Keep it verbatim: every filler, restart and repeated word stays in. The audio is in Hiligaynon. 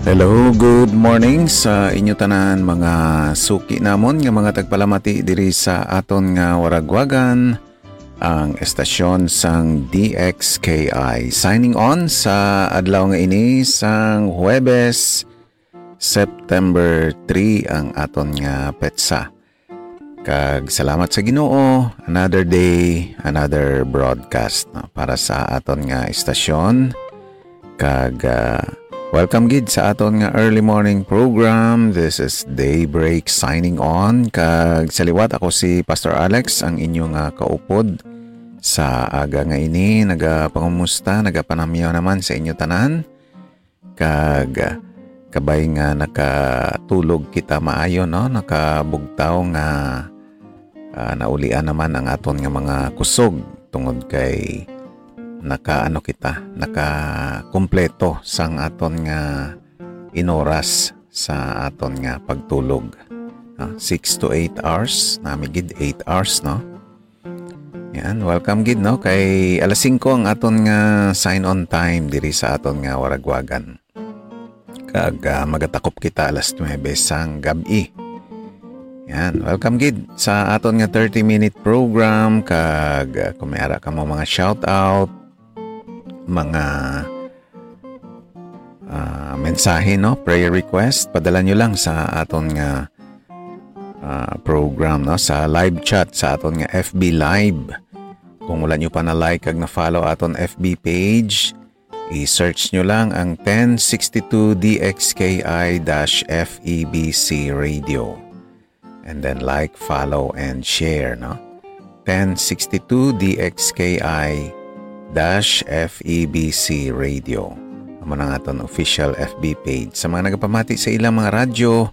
Hello, good morning sa inyo tanan, mga suki namon nga mga tagpalamati diri sa aton nga waragwagan, ang estasyon sang D X K I. Signing on sa adlaw nga ini sang Huwebes, September three ang aton nga petsa. Kag salamat sa Ginoo, another day, another broadcast, no, para sa aton nga estasyon. Kag, ah, welcome gid sa aton nga early morning program. This is Daybreak signing on. Kag sa liwat, ako si Pastor Alex, ang inyo nga kaupod sa aga nga ini. Nagapangumusta, nagapanamyaw naman sa inyo tanan. Kag, ah, kabay nga nakatulog kita maayo, no? Nakabugtaw nga, ah, naulian naman ang aton nga mga kusog tungod kay nakaano kita, nakakumpleto sang aton nga inoras sa aton nga pagtulog. Ah, six to eight hours, nami gid eight hours, no? Yan, welcome gid, no? Kay alas singko ang aton nga sign on time diri sa aton nga waragwagan. Kag, ah, magatakop kita alas nuebe sang gab-i. Yan, welcome gid sa aton nga thirty minute program. Kag, ah, kung may ara kamo mga shout out, mga, ah, mensahe, no, prayer request, padala nyo lang sa aton nga, ah, program, no, sa live chat sa aton nga F B Live. Kung wala nyo pa na like kag na follow aton F B page, i-search nyo lang ang ten sixty-two D X K I dash F E B C Radio. And then like, follow, and share, no? Ten sixty-two D X K I dash F E B C Radio. Amo na nga aton official F B page. Sa mga nagapamati sa ilang mga radyo,